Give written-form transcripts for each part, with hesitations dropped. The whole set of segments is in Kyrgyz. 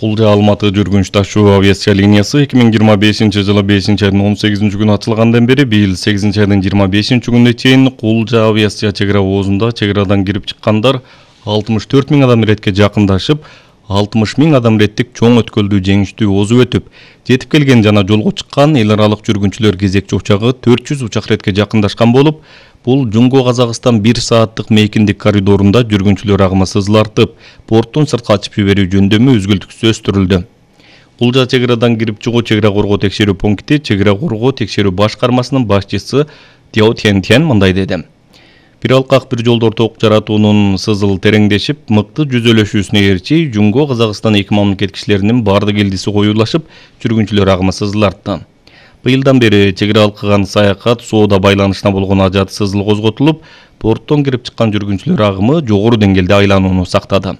Кулжа Алматы жүргүнч ташуу авиация линиясы 2025-жылы 5-айдын 18-күнү ачылгандан бери быйыл 8-айдын 25-күнүнө чейин Кулжа авиация чек ара оозунда чек арадан кирип чыккандар 64 000 адам иретке жакындашып, 60 000 адам иреттик чоң өткөлдү жеңиштүү озуп өтүп, жетип келген жана жолго чыккан эл аралык жүргүнчүлөр кезекчи учагы 400 учак иретке жакындашкан болуп, бул Жумго-Казакстан 1 сааттык мейкиндик коридорунда жүргүнчүлөр агымы сызылартып, порттун сыртка ачып жиберүү жөндөмү үзгүлтүксүз өстүрүлдү. Кулжа чек арадан кирип чыгуу чек ара коргоо текшерүү пункти чек ара коргоо текшерүү башкармасынын башчысы Тяо Тянтян мындай деди. Бир алкак бир жолдор ток жаратуунун сызыл тереңдешип, мыкты жүзөлөшүүсүнө ээрчи Жумго-Казакстан эки мамлекет кишилеринин бардык элдиси коюлашып, жүргүнчүлөр агымы сызылартты. Быйылдан бери чек ара алкаган саякат соода байланышына болгон ажат сызыл козготулуп, порттон кирип чыккан жүргүнчүлөр агымы жогору деңгээлде айланууну сактады.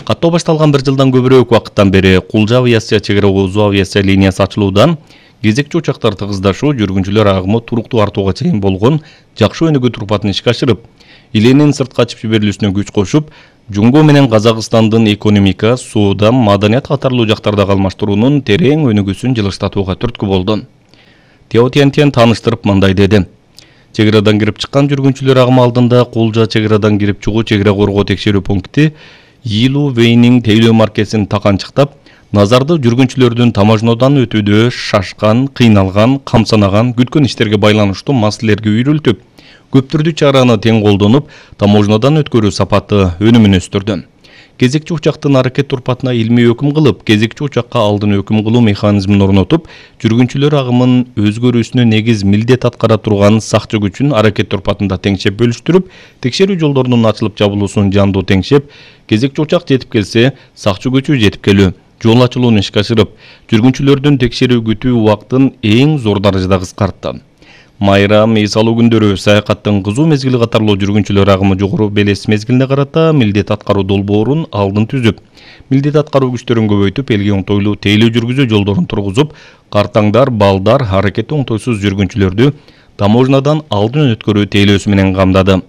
Каттоо башталган 1 жылдан көбүрөөк убакыттан бери Кулжа авиация чек ара оозу авиация линиясы ачылуудан кезекчи учактар тыгыздашуу жүргүнчүлөр агымы туруктуу артууга чейин болгон жакшы өнүгүү турпатын ишке ашырып, иленин сыртка ачып жиберилүүсүнө күч кошуп, Жумго менен Казакстандын экономика, соода, маданият катарлуу жактардагы алмаштыруунун терең өнүгүүсүн жылыштатууга түрткү болду. Тяо Тянтян тааныштырып мындай деди. Чек арадан кирип чыккан жүргүнчүлөр агымы алдында Кулжа чек арадан кирип чыгуу чек ара коргоо текшерүү пункти Йилу Вейнин тейлөө маркесин таканчыктап, назарды жүргүнчүлөрдүн таможнодан өтүүдө шашкан, кыйналган, камсанаган, күткөн иштерге байланыштуу маселелерге үйрүлтүп, көптүрдүү чараны тең колдонуп, таможнодан өткөрүү сапаты өнүмүн өстүрдү. Кезекчи учактын аракет турпатына илмий өкүм кылып, кезекчи учакка алдын өкүм кылуу механизмин орнотуп, жүргүнчүлөр агымын өзгөрүүсүнө негиз милдет аткара турган сакчы күчүн аракет турпатында теңшеп бөлүштүрүп, текшерүү жолдорунун ачылып жабылуусун жандуу теңшеп, кезекчи учак жетип келсе, сакчы күчү жетип келүү, жол ачылууну ишке ашырып, жүргүнчүлөрдүн текшерүү күтүү убактын эң зор даражада кыскартты. Майрам, эс алуу күндөрү саякаттын кызуу мезгили катарлуу жүргүнчүлөр агымы жогору белес мезгилине карата милдет аткаруу долбоорун алдын түзүп, милдет аткаруу күчтөрүн көбөйтүп, элге оңтойлуу тейлөө жүргүзүү жолдорун тургузуп, картаңдар, балдар, аракети оңтойсуз жүргүнчүлөрдү таможнадан алдын өткөрүү тейлөөсү менен камдады.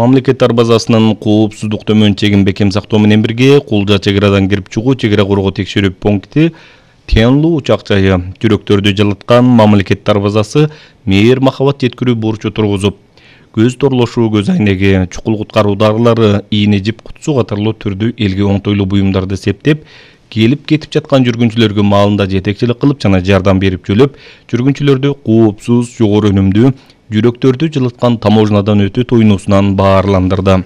Мамлекеттер базасынын коопсуздук төмөн чегин бекем сактоо менен бирге Кулжа чек арадан кирип чыгуу чек ара коргоо текшерүү пункти Тянлу учак жайы жүрөктөрдү жылыткан мамлекеттер базасы мээр махабат жеткирүү бурчу тургузуп, көз торлошуу, көз айнеги, чукул куткаруу дарылары, ийне жип кутсу катарлуу түрдүү элге оңтойлуу буюмдарды септеп, келип кетип жаткан жүргүнчүлөргө маалында жетекчилик кылып жана жардам берип жөлөп, жүргүнчүлөрдү коопсуз, жогору өнүмдүү, жүрөктөрдү жылыткан таможнадан өтүү тоюнуусунан баарландырды.